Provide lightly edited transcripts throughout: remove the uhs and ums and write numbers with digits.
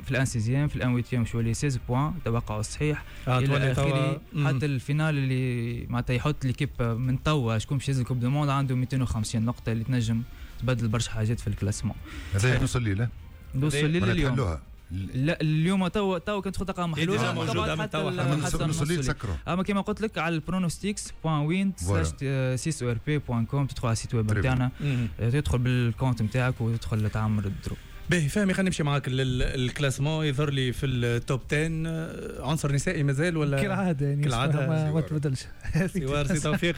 في ال un sixième، في ال un huitième شو 16 points توقعوا الصحيح الى اخره، حتى ال finale اللي معناتها يحط l'équipe من توا شكون باش يهز ال coupe du monde عنده 250 نقطة اللي تنجم تبدل برشا حاجات في ال classement. هذا نص الليل. نص الليل اليوم. لا، اليوم تو كنت تلقاها محلولة. موجودة من توا، حتى نص الليل تسكروا. اما كما قلت لك على ال pronostics.win/6orp.com تدخل على ال site web نتاعنا، تدخل بال compte نتاعك وتدخل تعمر ال draw. باهي فهمي، خلينا نمشي معاك لل classement. يظهر لي في ال top 10 عنصر نسائي مازال ولا؟ كالعادة يعني. كالعاده. ما تبدلش. سوار، سي توفيق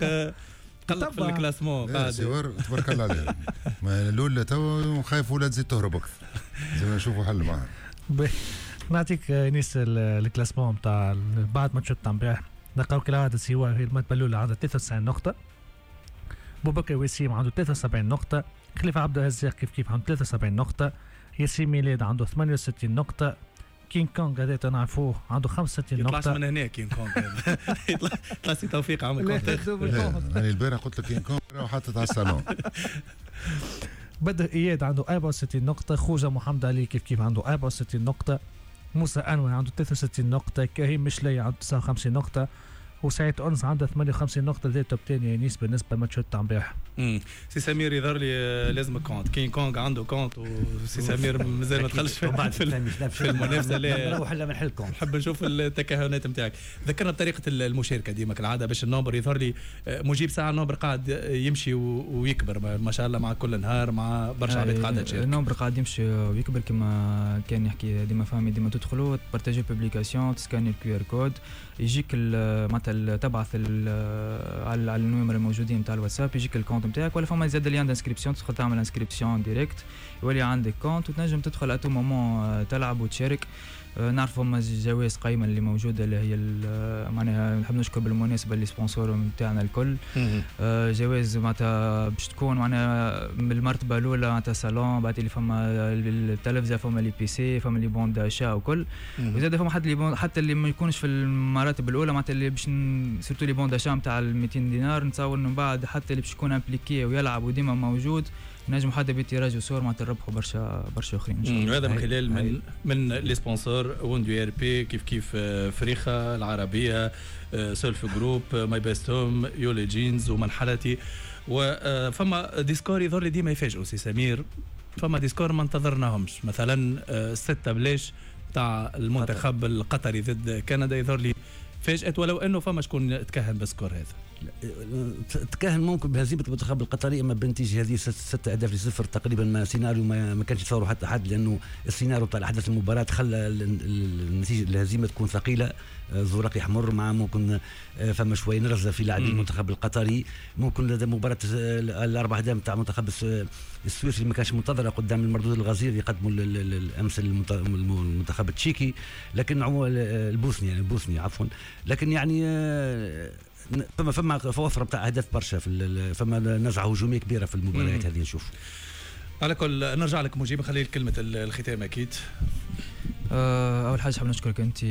قلق في ال classement. قاعد سوار، تبارك الله عليه. ما الاولى تو خايف ولا تزيد تهرب اكثر، لازم نشوفوا حل معها. نعطيك نيس ال classement نتاع بعد ماتش تاع امبارح. نلقاو كالعادة سوار في المرتبة الاولى عنده 93 نقطه، بوبكر وسيم عنده 73 نقطه، خليفة عبد الرزاق كيف كيف عنده 73 نقطه، ياسين ميلاد عنده 68 نقطه، كينغ كونغ هذا نعرفوه عنده 65 نقطة. يطلعش من هنا كينغ كونغ، يطلع سي توفيق عمل. انا البارح قلت لك كينغ كونغ وحطت على الصالون. بدر اياد عنده 64 نقطة، خوجة محمد علي كيف كيف عنده 64 نقطة، موسى انور عنده 63 نقطة، كريم مشلي عنده 59 نقطة، وسعيد انس عنده 58 نقطة. ذا top 10 يا بالنسبة لماتش تاع امبارح. سي سمير، يظهر لي لازمك compte. كين كونغ عنده compte وسي سمير مازال ما دخلش في المنافسة. لا، نروح الا من حل compte. نحب نشوف التكهنات نتاعك. ذكرنا بطريقة المشاركة ديما كالعادة باش ال nombre، يظهر لي مجيب ساعة ال nombre قاعد يمشي ويكبر ما شاء الله مع كل نهار، مع برشا عباد قاعدة تشارك. ال nombre قاعد يمشي ويكبر كما كان يحكي ديما فهمي. ديما تدخلوا تبارتاجي publication، تسكاني ال QR code، يجيك معناتها تبعث على النمر الموجودين نتاع الواتساب، يجيك ال compte نتاعك، ولا فما زاد lien d'inscription، تدخل تعمل inscription directe يولي عندك compte وتنجم تدخل à tout moment تلعب وتشارك. نعرفوا هما جوائز قيمة اللي موجوده، اللي هي معناها نحب نشكر بالمناسبة les sponsors نتاعنا الكل. جوائز معناتها باش تكون معناها من المرتبة الاولى معناتها صالون، بعد اللي فما التلفزه، فما les PC، فما les bons d'achat وكل، وزاد فما حتى les bons، حتى اللي ما يكونش في المراتب الاولى، معناتها اللي باش surtout les bons d'achat نتاع 200 دينار. نتصور من بعد حتى اللي باش يكون impliqué ويلعب وديما موجود نجم حتى ب tirage au sort معناتها نربحوا برشا برشا اخرين ان شاء الله. وهذا من خلال من les sponsors وندو ار بي، كيف كيف فريخه العربيه، سولف جروب، ماي بيست هوم، يولي جينز ومنحلتي. وفما des scores يظهر لي ديما يفاجئوا سي سمير، فما des scores ما انتظرناهمش، مثلا 6 بلاش تاع المنتخب القطري ضد كندا يظهر لي فاجأت، ولو انه فما شكون تكهن بال score هذا. تكهن ممكن بهزيمة المنتخب القطري، اما بالنتيجة هذه 6 اهداف ل0 تقريبا ما سيناريو ما كانش يتصوروا حتى حد، لانه السيناريو بتاع احداث المباراة خلى النتيجة الهزيمة تكون ثقيله، زورق يحمر مع ممكن فما شوية نرفزه في لاعبين المنتخب القطري، ممكن لدى مباراة الاربع اهداف نتاع المنتخب السويسري ما كانش منتظره قدام المردود الغزير اللي قدموا الامس المنتخب التشيكي، لكن البوسني، يعني البوسني عفوا. لكن يعني فما وفرة بتاع اهداف برشا في فما نزعه هجومية كبيرة في المباريات هذه نشوف. على كل نرجع لك مجيب، خلي كلمة الختام اكيد. اول حاجة حاب نشكرك انت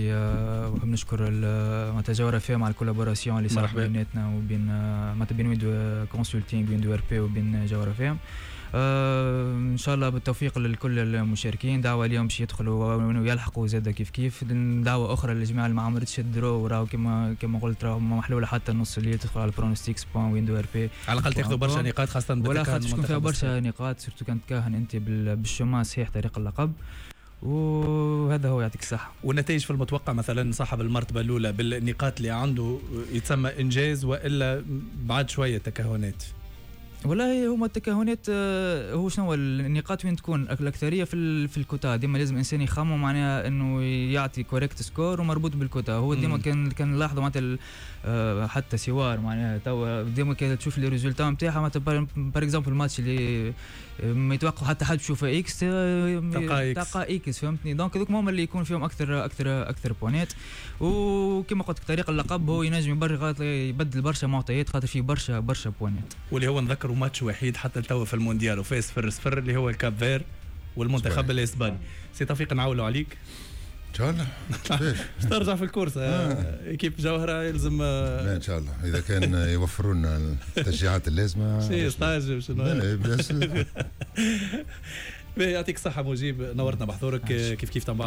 وحاب نشكر معناتها جوهرة فيها مع ال collaboration اللي صارت بيناتنا وبين معناتها بين ويندو كونسلتينغ، ويندو ار بي وبين جوهرة فيهم. ان شاء الله بالتوفيق لكل المشاركين، دعوه اليوم باش يدخلوا ويلحقوا زاد كيف كيف. دعوه اخرى للجماعة اللي ما عملتش ال draw، وراهو كما قلت راهو محلولة حتى نص الليل، تدخل على pronostics.window.rp. على الاقل تاخذوا برشا نقاط خاصه. ولا خاطر تكون فيها برشا نقاط، surtout كان تكهن انت بال chemin صحيح طريق اللقب. وهذا هو، يعطيك الصحة. والنتائج في المتوقع؟ مثلا صاحب المرتبة الأولى بالنقاط اللي عنده يتسمى إنجاز وإلا بعد شوية تكهنات؟ والله هما التكهنات هو شنو النقاط وين تكون الاكثرية في الكوتا. ديما لازم انسان يخمم معناها انه يعطي correct score ومربوط بالكوتا. هو ديما كان نلاحظوا معناتها حتى سوار معناها توا ديما كان تشوف les résultats نتاعها، معناتها par exemple الماتش اللي ما يتوقع حتى حد يشوفه X تلقى X، تلقى X، فهمتني؟ donc هذوك هما اللي يكون فيهم اكثر اكثر اكثر points. وكما قلت لك طريق اللقب هو ينجم يبدل برشا معطيات خاطر فيه برشا برشا points. واللي هو نذكروا ماتش وحيد حتى لتوا في المونديال وفاز 0-0، اللي هو الكاب فير والمنتخب الاسباني. سي توفيق، نعولوا عليك. ان شاء الله. ترجع في ال course équipe جوهره يلزم. لا، ان شاء الله اذا كان يوفروا لنا التشجيعات اللازمه. شيء stage شنو؟ لا. يعطيك الصحة مجيب، نورتنا بحضورك كيف كيف بعد.